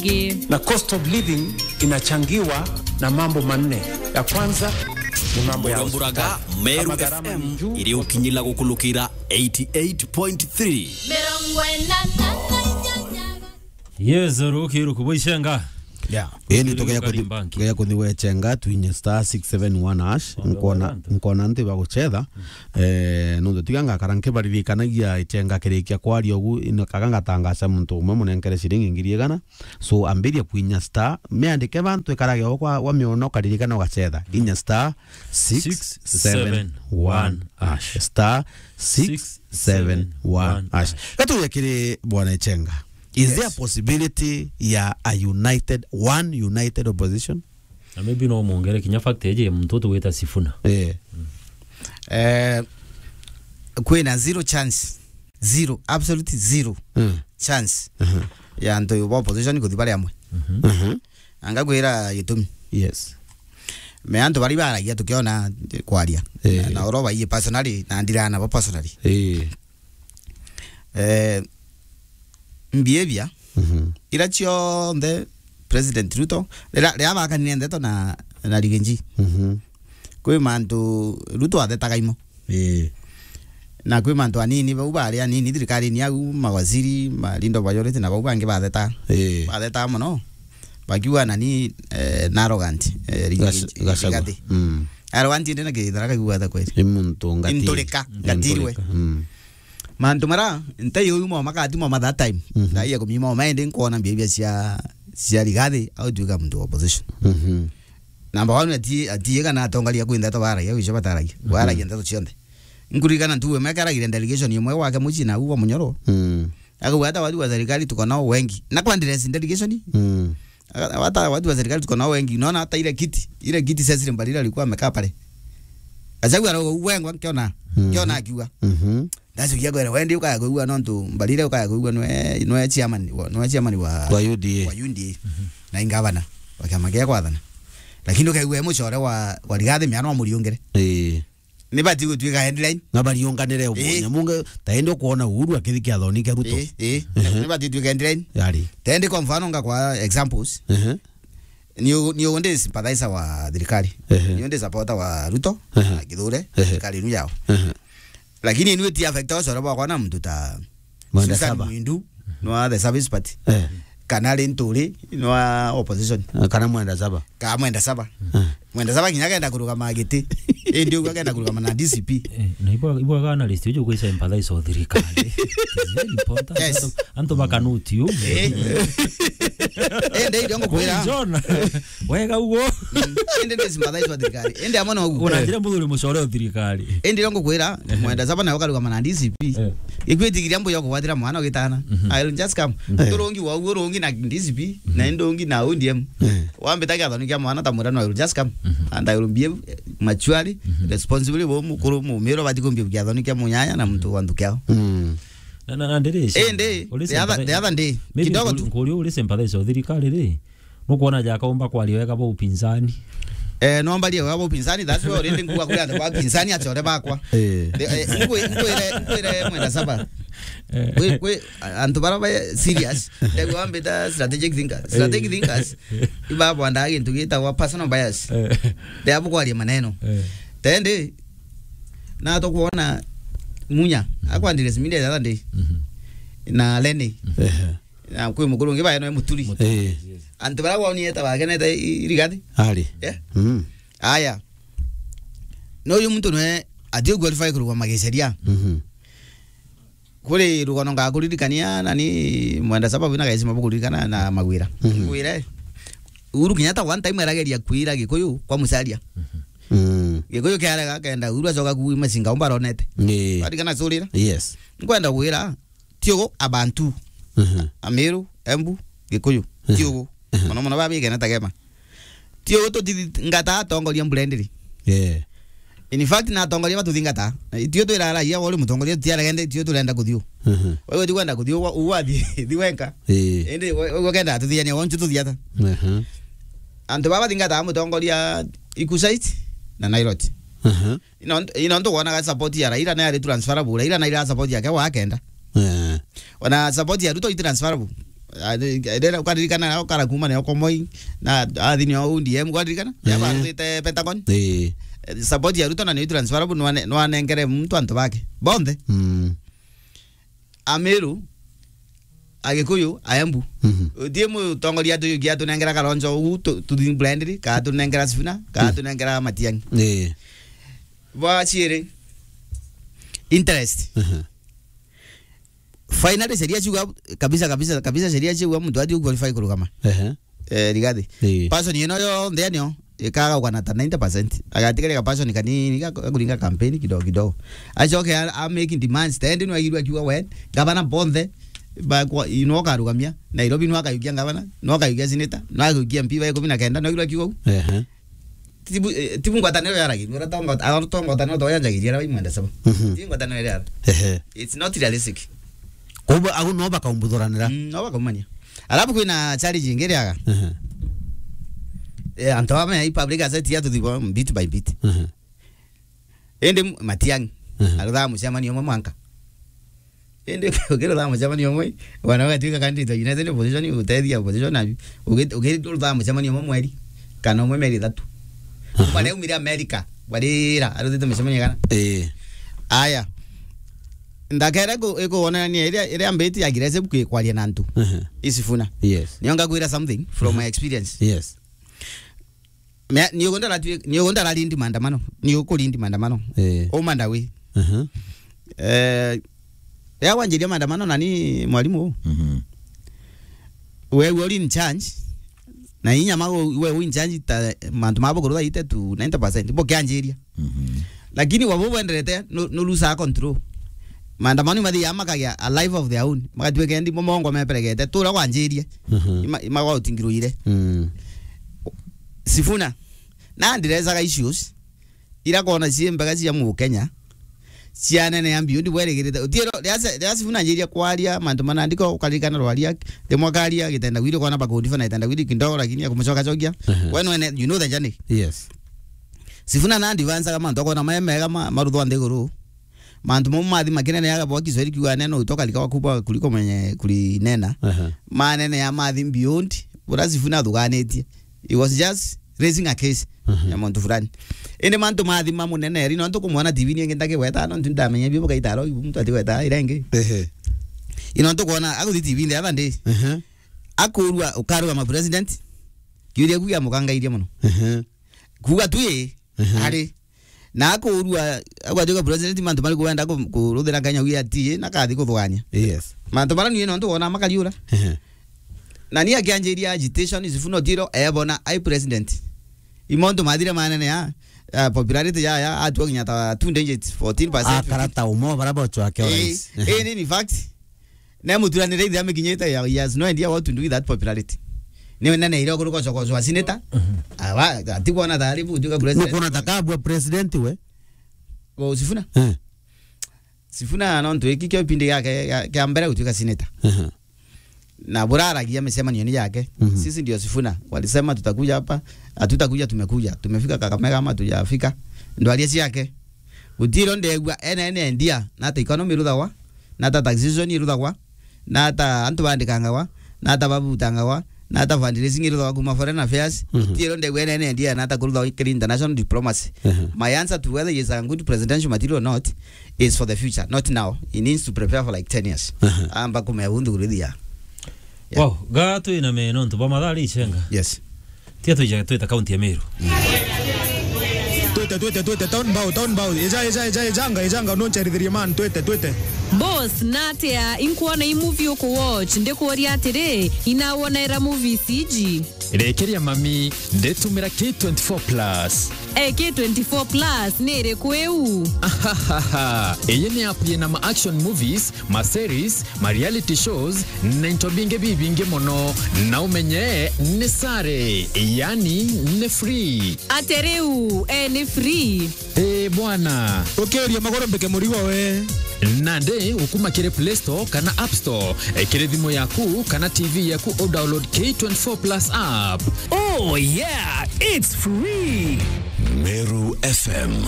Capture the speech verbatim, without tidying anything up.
Na cost of living inachangiwa na mambo manne. Ya kwanza ni mambo ya Muramburaga, hospitali. Meru Kama gharama ni F M juu, iri ukinyila gukulukira eighty-eight point three. Mirongo ina na inyanya. Yes, ruki ruku bwicenga. Yeah. Indi Ruki tugeya ruku kuthi, banki. Tugeya kuthi wechenga, twinye star six seven one hash. Wambe nkona, wambe. Nkona nti baguchetha. Eh, nundu tiga ngakara nkibaririkanagia ichenga kirikia kwaria ugu, ino kaga ngatangaca muntu umwe munenkere ciringi ngiri igana. So, ambiria kwinya star, miandike bantu ikarage o kwa, wa miona ukaririkana ugachetha. Inya star six seven one hash. Star six seven one hash. Gatuye kiri Bwana Ichenga. Is there a possibility ya a united, one united opposition? Na maybe no mwongere kinya fact eje muntu tugwita Sifuna. Eh. Eh, kwina zero chance. Zero, absolute zero Mm. chance Mhm. ya antu ba opposition kuthi bari amwe. Mhm. Anga kwira gitumi. Yes. Me antu bari baragia tukiona kwaria. Eh. Na, na oro baiye personally, na ndirana bo personally. Eh. Eh, behavior Mhm. ira cionthe President Ruto, rira, rira bakanire ndeto na, na Rigathi. Mhm. Kwi mantu Ruto athetaga imo. Ii. Na kwi mantu anini bau bari anini thirikarine au, mawaziri, ma Linda Majority na bau bangi batheta. Ii. Batheta mono. Bakiuga nani, eh, na arrogant, eh, Rigathi, Gac-, Gachagua. Rigathi. Mm. Arrogant indi na kithara kaigua ta kweli. Ni muntu ngatiri. Inturika, ngatirwe. Inturika. Mm. Mantu mara, ntai uyu mo makati mo that time. Mhm. Ndai ya kumima mo maende nkona behavior cia, cia Rigathi, au tuika muntu wa opposition. Mhm. Number one, ati, ati kana atongoria kwinda to baragia, wicho bataragia. Mhm. Baragia ndeto cionthe. Nkuririkana ntuwe mekaragire delegation imwe gwake mucii na uwa Munyoro. Mm. Akauga, "Hata watu wa serikali tuko nao wengi." Na kwa address delegation. Mm. Aka-, hata watu wa serikali tuko nao wengi. Unaona hata ile kiti, ile kiti Cecily Mbarire alikuwa amekaa pale. Gachagua arauga, "Wengwa nkiona, Mhm. nkiona akiuga." Mhm. Ndacukia kwera, "Wendi ukaya kuigua nontu Mbarire ukaya kuigua nwe, nwe chairman wa, nwe chairman wa, Wa U D A. Wa U D A. Mhm. Na ingavana wa kiama kia kwathana." Lakini ukaigua e mucore wa, wa Rigathi miano amuriungire. Ii. Ni bati gutuika headline. Na bariunganire Ii. nyamunge, ta indi ukuona Uhuru akithi kiathoni kia Ruto. Ii, ii. Mhm. Ni bati tuika headline. Yari. Ta indi kwa mfano nga kwa examples. Mhm. Ni u-, ni undi sympathizer wa thirikari. Ehe. Ni undi supporter wa Ruto, Ehe. na Kithure, Ehe. thirikari inu yao. Ehe. Lakini ni ti affect ucore bwakwa na muntu ta Mwenda Susan Saba. Mwindu, no the Service Party. Eh. Kana Linturi, no opposition. Eh, kana Mwenda Saba. Ka Mwenda Saba. Eh. Mwenda Saba kinya kenda kurugama giti. Indi uguo kenda kurugama na D C P. Eh, na ibwa, ibwa kana list uju kwisa sympathize o thirikari. It's very important. Yes. Antu, antu bakanuti u. Eh. Indi ndio ngukwira. John. Wega uguo. Mm. Indi ndi sympathize wa thirikari. Indi amwe no uguo. Unanjira muthuri mucore o thirikari. Indi ndio ngukwira, Mwenda Saba nawe ukarugama na D C P. Eh. Ikwitigiria mbuya kugwatira mwana ugitana. Mhm. I will just come. Mhm. Turungi wa uguo rungi na D C P, na indi ungi na O D M. Eh. Wambita kiathoni kia mwana ta mwira no, I will just come. Mhm. And I will behave, eh, maturely, Mhm. responsibly, bo mukuru mumiro bati kumbia kiathoni kia munyanya na muntu wa nthuki yao. Mm. Na, na, na ndiri Indi, the other, the other day, maybe kidogo nkuri-, tu. Nkuri uri sympathize o thirikari ri, nukwona jakaumba kwaria wega bwa upinzani? Eh, no mbarie wega bwa upinzani, that's why already nguga kuri antu ba upinzani acore bakwa. Eh. The, eh, nkwi-, nkwire, nkwire Mwenda Saba. Eh. Kwi, kwi, a-, antu bara ba serious, ndio wambita strategic thinkers. Strategic Eh. thinkers, ibabwandaga gintu gitagwa personal bias. Eh. Ndio bukwaria maneno. Eh. Tendi, na tukwona Munya, Mhm. akwandire siminde the other day. Mhm. Na Lenny. Mhm. Ehe. Na kwi mukuru ungi bae no muturi. Muturi. Eh. Antu bara woni eta bagenete i-, Rigathi. Ari. Yeah. Mm. Aya. No uyu muntu nwe ati qualify kurugama giceria. Mhm. Kuri rugano ngakuririkania na ni Mwenda Saba wina gaisima bukuririkana na Magwira. Mhm. Ngwire. Uhuru Kenyatta one time arageria kwira Gikuyu kwa Musalia. Mhm. Mm. Gikuyu kiarega kenda Uhuru acoka kuuma singa umba aronete. Ni. Arikana curira. Yes. Nkwenda gwira, ti ugu abantu. Mhm. Amiru, Embu, Gikuyu. Mhm. Ti ugu. Mhm. Mono mono babi kena tagema. Ti ugu tutithingata atongoria mbura indiri. Yeah. In fact, na atongoria batuthingata. Itio twira raia wori mutongoria tutiarega ende, itio turenda kuthio. Mhm. Wewe ti kwenda kuthio, uwa, uwa thi, thi wenka. Eh. Indi we, we kenda tuthiania wonchu tuthiata. Mhm. Antu baba thingata mutongoria Ikusait na Nairoti. Mhm. Ino, ino ntu wonaga support ya Raila na yari transferable. Raila na ira support yake wa kenda. Eh. Ona support ya Ruto i transferable. Ah, ndera ukaririkana na ukara kuma na Okomoi, na athi ni O D M, ukaririkana? Ya Eh. Barutite Pentagon. Eh. Eh, support ya Ruto na ni transferable, nwane-, nwanengere muntu antu bake. Bonthe. Mm. Ameru, Agikuyu, Aembu. Mhm. Utie mutongoria tu-, gia tunengera Kalonzo uu tu-, tuthi blindly, ka tunengera Sifuna, ka Mhm. tunengera Matiang'i. Eh. Bwa ciiri, interest. Mhm. Finally, sheria ciuga kabisa, kabisa, kabisa, sheria ciuga muntu ati qualify kurugama. Ehe. Eh, Rigathi. Ii. Person ino yonthe anio, ikaga kugana ta ninety percent. Agatigari ka person kanini, ga, ga kuringa campaign kidogo kidogo. Acoke a, a making demands. Tendi no aigirwa kiuga we, gavana bonthe, ba kwa, ino karugamia. Nairobi no akayukia gavana, no akayukia senator, no akayukia M P ba ikumi na kenda, no aigirwa kiuga u. Ehe. Tibu, eh, tibu ngwataniro yaragirwe, ura tongo-, ura tongo ngwataniro to yanjagiria, ara baimwenda sabo. Mhm. Tibu ngwataniro yara. Ehe. It's not realistic. Koguo agu no bakaumbuthuraniira. Mm, no bakaumania. Alafu kwina challenge ingi riaga. Ehe. Eh, antu aba me public asset ya tuthibo bit by bit. Ehe. Indi Matiang'i, Ehe. Aruthaa mucemanio umwe mwanka. Indi ukiruthaa mucemanio umwe, wana ugatuika candidate wa United Opposition, gutethia opposition na ugi-, ukiruthaa mucemanio umwe mweri, kana umwe mieri ithatu. Aha. Kuma riu aumire America, barira, arutite micemanio igana. Ii. Aya. Ndakere ku-, ikuonania iria, iria mbiti ya aggressive kwi-, kwaria na antu. Aha. Isifuna. Yes. Nio ngakwira something from Aha. my experience. Yes. Mea-, ni ugu ndaratu-, ni ugu ndararindi maandamano. Ni ukurindi maandamano. Eh. Uma ndawi. Aha. Eh, ya wanjiria maandamano nani mwalimu? Mhm. We, we uri in charge. Na inya ma we, we uri in charge ta mantu mabo kurutha ite tu ninety percent. Bo kianjiria. Mhm. Lakini wabo bwenderete, no, no lose control. Maandamano mathi ya makagia a life of their own. Magatwika ndi mo mongo meperegete. Tura wanjirie. Mhm. Ima, ima gwa utingirwire. Mm. Sifuna. Na ndirezaga issues. Ira kona cie mbega cia mu Kenya. Cia nene ya mbiu ndi bwerigirite. Utiro, ria se-, ria Sifuna njiria kwaria, mantu mana ndiko ukaririkana rwaria, rimwe karia, gitenda gwiri kona bakundi fana gitenda gwiri kidogo, lakini ya kumucoka cokia. Aha. We nwene, you know the journey. Yes. Sifuna na advance ga mantu akona mae mega ma, maruthwa nthiguru. Mantu mau mathi makinene yaga bwa Kiswahili kiuga neno utoka likawa kubwa kuliko mwenye kulinena. Aha. Manene ya mathi beyond, bura Sifuna thuganitie. He was just raising a case Aha. ya muntu fulani. Indi mantu mathi mamunene eri, nontu kumwona T V ni ingi ndakigweta, nontu ndamenya bibu gaitaro, ibu muntu atigweta ira ingi. Ehe. Ino ntu kuona, aguthi T V the other day. Aha. Akurua, ukarugama president. Kiuria kugia mukangairie muno. Aha. Kuuga tu ii, Ehe. ari. Na akurua, agwatuika president, mantu mariku wenda ku-, kuruthira Kenya wia ati, na kathi kuthugania. Yes. Mantu mara ni nontu wona makariura. Ehe. Na ni akianjiria agitation, Sifuna Utiro, ebona, ai president. Imontu mathire manene ya, ya popularity ya, ya, atua kinya ta two digits, fourteen percent, Akara fifteen. Ta umo, bara bocho ake Eh, orais. Ehe. Eh, ni, in fact, ne muturanire ithe amikinyite ya, he has no idea what to do with that popularity. Ni nene ire kuri kocho kocho wa senator. Mhm. Awa, ati kuona tayari bu tuka president. Nukuona ta kabua president we? Go Sifuna? Eh. Sifuna nontu iki kio kipindi giake gia, gia mbere gutuika senator. Aha. Na buraragia micemanio ni yake. Mhm. Sisi ndio Sifuna. Walisema tutakuja hapa, hatutakuja, tumekuja. Tumefika Kakamega ama hatujafika. Ndwaria ciake. Gutiro ndegua ene ene ndia, na ta economy iruthagwa, na ta taxation iruthagwa, na ta antu bandikangagwa, na ta babutangagwa, na ta fundraising iruthagwa kuma foreign affairs. Mhm. Gutiro ndegua ene ene ndia, na ta kuruthagwa kiri international diplomacy. Mhm. My answer to whether he is a good presidential material or not, is for the future, not now. He needs to prepare for, like, ten years. Aha. Amba kumea undu kurithia. Yeah. Wow, ga twina me nontu ba mathaa ri icenga. Yes. Tia tuija twita kaunti ya Meru. Twite, twite, twite, town bow, town bow. Eja, eja, eja, ejanga, ejanga, no ncharithirie man, twite, twite. Boss, natia inkuona i movie uku watch, ndikuuria atiri, inawona era movies iji? Rekeria mami, nditumira K twenty-four plus. Eh, K twenty-four plus ni iriku iu? Ahahaha. Iyi ni app yina ma action movies, ma series, ma reality shows, na into bingi bibingi mono. Na umenye ni sare, yani ni free. Ate riu, eh, ni free? Eh, bwana. Ukiuria magoro mbike murigo we. Nandi ukuma kiri Play Store kana App Store, eh, kiri thimu yaku kana T V yaku, u download K twenty-four plus app. Oh yeah, it's free. Meru F M.